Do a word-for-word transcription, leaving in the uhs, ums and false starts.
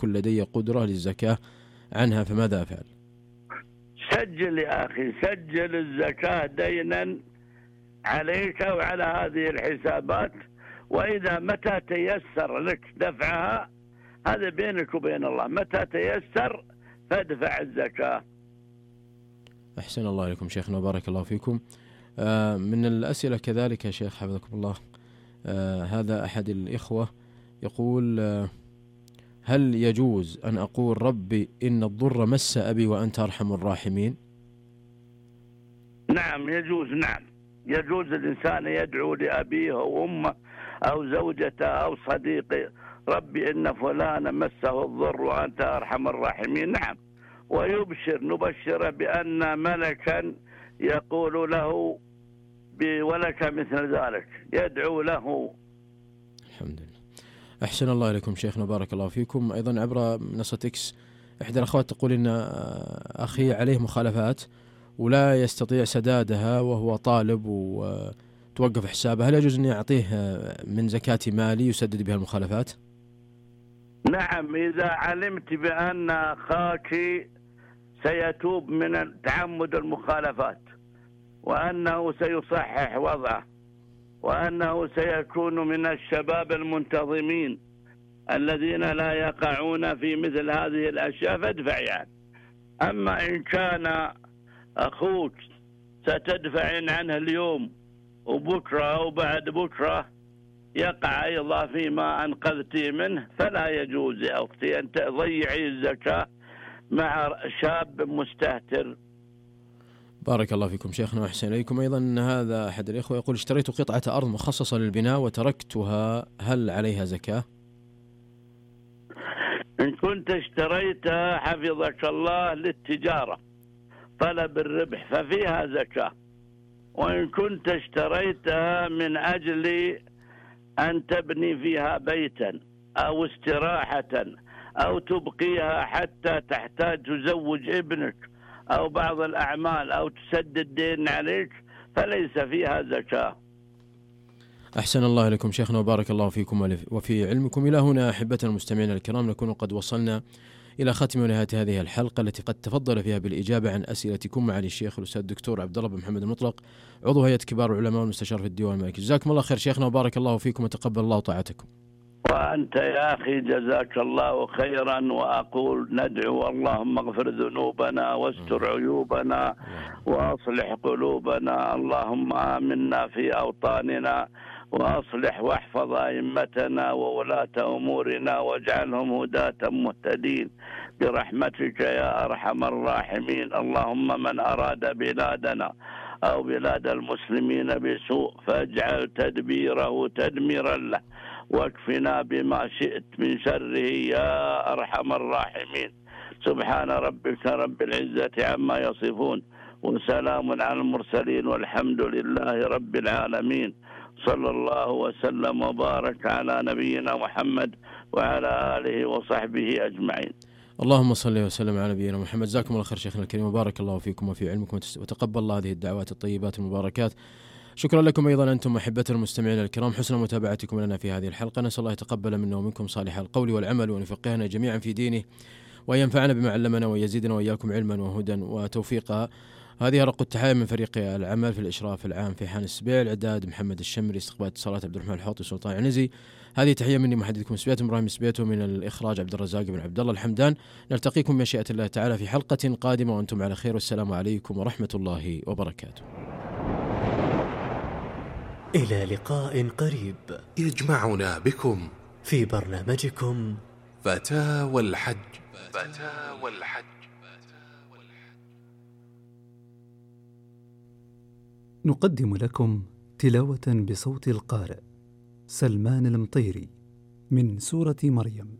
يكن لدي قدرة للزكاة عنها فماذا أفعل؟ سجل يا أخي، سجل الزكاة دينا عليك وعلى هذه الحسابات، وإذا متى تيسر لك دفعها هذا بينك وبين الله، متى تيسر فادفع الزكاة. أحسن الله إليكم شيخنا وبارك الله فيكم. آه من الأسئلة كذلك يا شيخ حفظكم الله، آه هذا أحد الإخوة يقول آه هل يجوز أن أقول ربي إن الضر مس أبي وأنت أرحم الراحمين؟ نعم يجوز، نعم يجوز الإنسان يدعو لأبيه وأمه أو زوجته أو صديقه ربي إن فلان مسه الضر وأنت أرحم الراحمين، نعم، ويبشر نبشر بأن ملكا يقول له ولك مثل ذلك، يدعو له. الحمد لله. أحسن الله إليكم شيخنا بارك الله فيكم. أيضا عبر منصة إكس إحدى الأخوات تقول إن أخي عليه مخالفات ولا يستطيع سدادها وهو طالب وتوقف حسابه، هل يجوز أن أعطيه من زكاة مالي يسدد بها المخالفات؟ نعم، إذا علمت بأن أخاك سيتوب من تعمد المخالفات وأنه سيصحح وضعه وأنه سيكون من الشباب المنتظمين الذين لا يقعون في مثل هذه الأشياء فادفع يعني. أما إن كان أخوك ستدفعين عنه اليوم وبكرة أو بعد بكرة يقع أيضا فيما أنقذتي منه فلا يجوز يا أختي أن تضيعي الزكاة مع شاب مستهتر. بارك الله فيكم شيخنا وأحسن إليكم. أيضا هذا أحد الإخوة يقول اشتريت قطعة أرض مخصصة للبناء وتركتها، هل عليها زكاة؟ إن كنت اشتريتها حفظك الله للتجارة طلب الربح ففيها زكاة، وإن كنت اشتريتها من أجل أن تبني فيها بيتا أو استراحة أو تبقيها حتى تحتاج تزوج ابنك أو بعض الأعمال أو تسدد دين عليك فليس فيها زكاة. أحسن الله لكم شيخنا وبارك الله فيكم وفي علمكم. إلى هنا أحبتنا المستمعين الكرام نكون قد وصلنا إلى ختم ونهاية هذه الحلقة التي قد تفضل فيها بالإجابة عن أسئلتكم معالي الشيخ الأستاذ الدكتور عبد الله بن محمد المطلق عضو هيئة كبار العلماء والمستشار في الديوان الملكي. جزاكم الله خير شيخنا وبارك الله فيكم وتقبل الله طاعتكم. وأنت يا أخي جزاك الله خيرا، وأقول ندعو اللهم اغفر ذنوبنا واستر عيوبنا وأصلح قلوبنا، اللهم آمنا في أوطاننا وأصلح واحفظ أئمتنا وولاة أمورنا واجعلهم هداة مهتدين برحمتك يا أرحم الراحمين. اللهم من أراد بلادنا أو بلاد المسلمين بسوء فاجعل تدبيره تدميرا له واكفنا بما شئت من شره يا أرحم الراحمين. سبحان ربك رب العزة عما يصفون وسلام على المرسلين والحمد لله رب العالمين. صلى الله وسلم وبارك على نبينا محمد وعلى آله وصحبه أجمعين. اللهم صل وسلم على نبينا محمد. جزاكم الله خير شيخنا الكريم وبارك الله فيكم وفي علمكم وتقبل الله هذه الدعوات الطيبات المباركات. شكرا لكم أيضا أنتم أحبتنا المستمعين الكرام حسن متابعتكم لنا في هذه الحلقة. نسأل الله يتقبل منا ومنكم صالح القول والعمل وأن يفقهنا جميعا في دينه وأن ينفعنا بما علمنا ويزيدنا وإياكم علما وهدى وتوفيقا. هذه رق التحايا من فريق العمل في الإشراف العام في حان السبيع، الإعداد محمد الشمري، استقبال اتصالات عبد الرحمن الحوطي سلطان عنزي. هذه تحية مني محدثكم سبيت إبراهيم سبيتو، من الإخراج عبد الرزاق بن عبد الله الحمدان. نلتقيكم بمشيئة الله تعالى في حلقة قادمة وأنتم على خير، والسلام عليكم ورحمة الله وبركاته. إلى لقاء قريب يجمعنا بكم في برنامجكم فتاوى الحج. فتاوى الحج. نقدم لكم تلاوة بصوت القارئ سلمان المطيري من سورة مريم.